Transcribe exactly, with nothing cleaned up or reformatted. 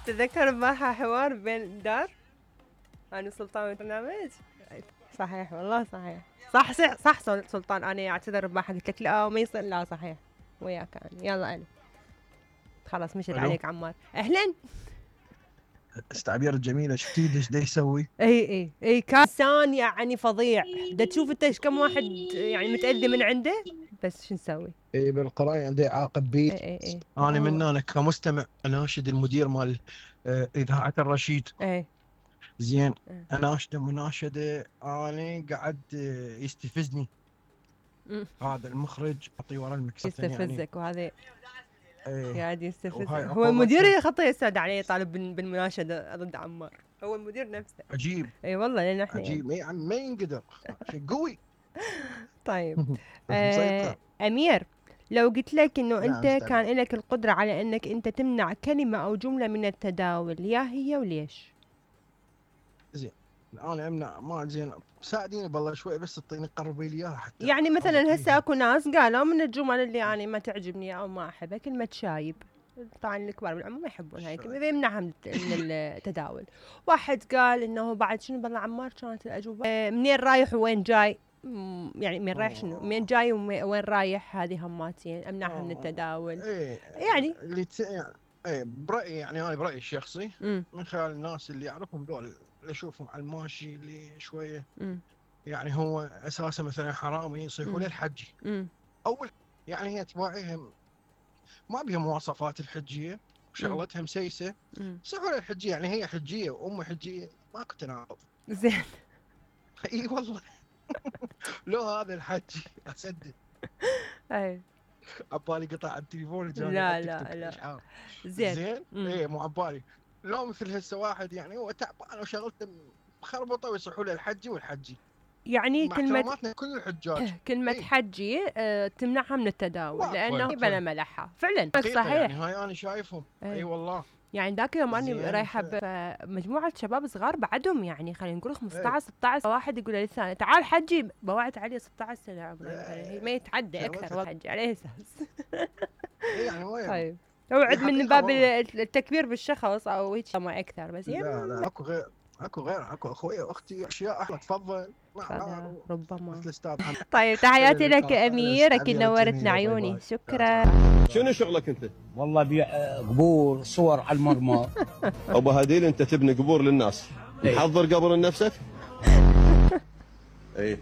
تذكر معها حوار بين الدار انا وسلطان بالبرنامج. صحيح والله صحيح. صح صح صح سلطان، انا اعتذر بماحة قلت لك لا وما يصير. لا صحيح وياك انا. يلا انا خلاص مشت عليك عمار. اهلا. التعبير الجميله شفتي ايش دا يسوي؟ اي اي اي كان يعني فظيع. دا تشوف انت ايش كم واحد يعني متاذي من عنده، بس شو نسوي؟ اي بالقرايه عنده اعاقه بيت. اي اي اي انا من انا كمستمع اناشد المدير مال آه اذاعه الرشيد. اي زين اناشده مناشده انا قاعد آه يستفزني. مم. هذا المخرج اعطيه ورا المكسر يستفزك يعني. وهذا ايه. قاعد يستفزك. وهاي هو المدير عقوبتها. خطه يسعد عليه طالب بال- بالمناشده ضد عمار. هو المدير نفسه. عجيب اي والله لان احنا عجيب يعني ما ينقدر شيء قوي. طيب مسيطر. آه امير، لو قلت لك انه نعم انت استاذ. كان لك القدره على انك انت تمنع كلمه او جمله من التداول، يا هي وليش؟ زين انا امنع ما زين ساعديني بالله شوي بس اعطيني قربي لي اياها حتى يعني مثلا أضبط هسه فيها. اكو ناس قالوا من الجمل اللي انا ما تعجبني او ما احبها كلمه شايب. طبعا الكبار بالعمر ما يحبون هاي الكلمه فيمنعها من الت- من التداول. واحد قال انه بعد شنو بالله عمار كانت الاجوبه آه منين رايح وين جاي. مم، يعني من رايح شنو منين جاي وين رايح، هذه هماتين امنعها من التداول. ايه يعني اللي ت... يعني ايه برايي يعني انا برايي الشخصي امم من خلال الناس اللي اعرفهم دول اللي اشوفهم على الماشي اللي شويه امم يعني هو اساسا مثلا حرامي يصيحوا له الحجي. امم اول يعني هي تباعيهم ما بها مواصفات الحجيه وشغلتها مسيسه. امم يصيحوا له الحجيه يعني هي حجيه وام حجيه ماكو تناقض. زين. اي والله. لو هذا الحجي اصدق اي عبالي قطع التليفون جاني لا على لا التيك توك لا اشعار. زين. زين مم. ايه مو عبالي. لو مثل هسه واحد يعني هو تعبان وشغلته مخربطه ويصحوا له الحجي والحجي. يعني مع كلمة احتراماتنا كل الحجاج. كلمة ايه حجي أه تمنعها من التداول واقفه لأنه بلا ملحة فعلا. حقيقه يعني صحيح. هاي انا شايفهم. اي ايه. والله. يعني ذاك يوم اني زين رايحه ف... بمجموعه شباب صغار بعدهم يعني خلينا نقول ايه. خمسطعش ستطعش واحد يقول للثاني تعال حجي بوعت عليه ستطعش سنه عمره مثلا هي ما يتعدى اكثر شغلتها حجي على اساس. ايه يعني وين طيب اوعد هي من حقيقه باب والله. التكبير بالشخص او هيك ما اكثر بس يعني لا لا اكو غير اكو غير اكو اخوي واختي اشياء احلى تفضل. هذا نعم ربما. مثل استاذ محمد. طيب تحياتي لك اللقاء امير، اكيد التعبير نورتنا الجميل. باي عيوني. باي. شكرا. شنو شغلك انت؟ والله بيع آه، قبور صور على المرمى. ابو هديل انت تبني قبور للناس، إيه. محضر قبر لنفسك؟ اي